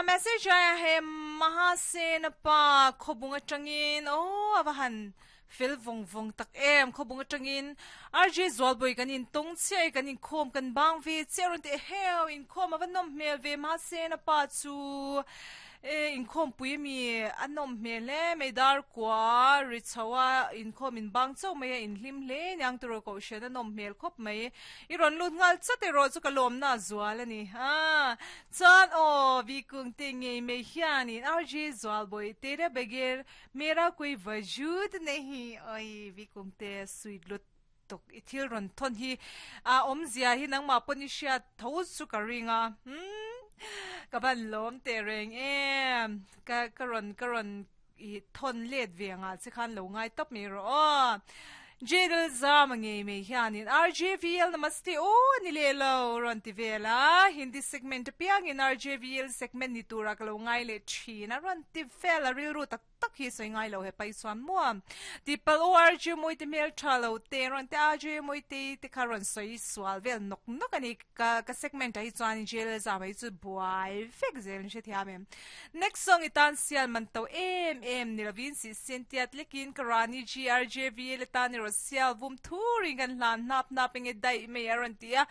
Message aia he Mahasen pa khawbung atangin aw a va han fel vawng vawng tak em khawbung atangin RJ Zualbawi kan intawng chiah e kan inkhawm kan bang ve chiah rawn ti eheu inkhawm a va nawm hmel ve Mahasen pa chu E inkhawmpui mi a nawm hmel hle mai dar kua ri chho a inkhawm in bang chauh mai a inhlim hle niang tiraw kohhran a nawm hmel khawp mai i rawn lut nghal chat erawh chu ka lawmna a zual a ni a chuan aw vikung te ngei mai hianin RJ Zualbawi tera bager mera koi vajud nahi oi vikung te sweet lut tuk i thil rawn thawn hi a awmzia hi nangmah pawn i hriat tho chu ka ring a umm ka van lawm teh reng em ka ka rawn ka rawn i thawn let ve angah che khan lo ngai tawp mai rawh aw Jadel Zama ngei mai hianin RJVL namaste aw a ni leh lo rawn ti vel a Hindi segment apiangin RJVL segment ni tura ka lo ngai leh thin a rawn ti vel a rilru tak tak hi sawi ngai lo hepa hi chuan maw tihpalh aw RJ Mawite hmel tha lo te rawn te RJ Mawite te kha rawn sawi sual vel nawk nawk a ni ka ka segment ah hi chuan jail zam ah hi chu buai vek zel in hrethiam em next song i tan sial man to em em ni lovin sih sen tiat lekin ka rani GRJVL atan erawh sial vum thurin kan hlan hnap hnap enge daih mai a rawn ti a.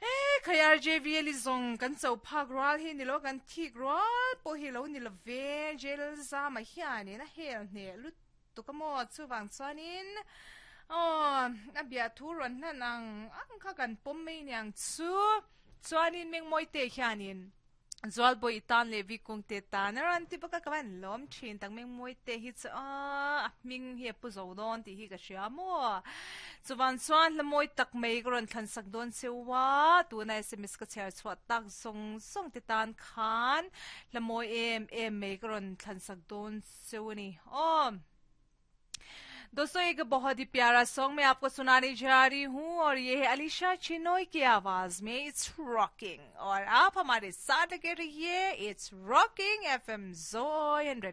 He khai RJVL i zawng kan cho phak rual hi ni lo kan thik rual pawh hi lo ni lo ve jail zama hianin a hel hneh lutuk a maw chuvang chuanin aw a biah thu rawn hlan ang ang kha kan pawm mai niang chu chuanin Mengmawite hianin Zualbawi i tan leh Vikung te tan a rawn ti bawk a, ka van lawm thin tak Mengmawi te hi chu aaa a hming hi a pu zo dawn tih hi ka hria maw. Chuvan chuan hla mawi tak mai ka rawn thlan sak dawn cheu a, tuna sms ka chhiar chhuah tak zawng zawng te tan khan hla mawi em em mai ka rawn thlan sak dawn cheu a ni aw. दोस्तों एक बहुत ही प्यारा सॉन्ग मैं आपको सुनाने जा रही हूँ और ये है अलीशा चिनोई की आवाज में it's rocking और आप हमारे साथ लगे रहिए it's rocking FM Joy 100.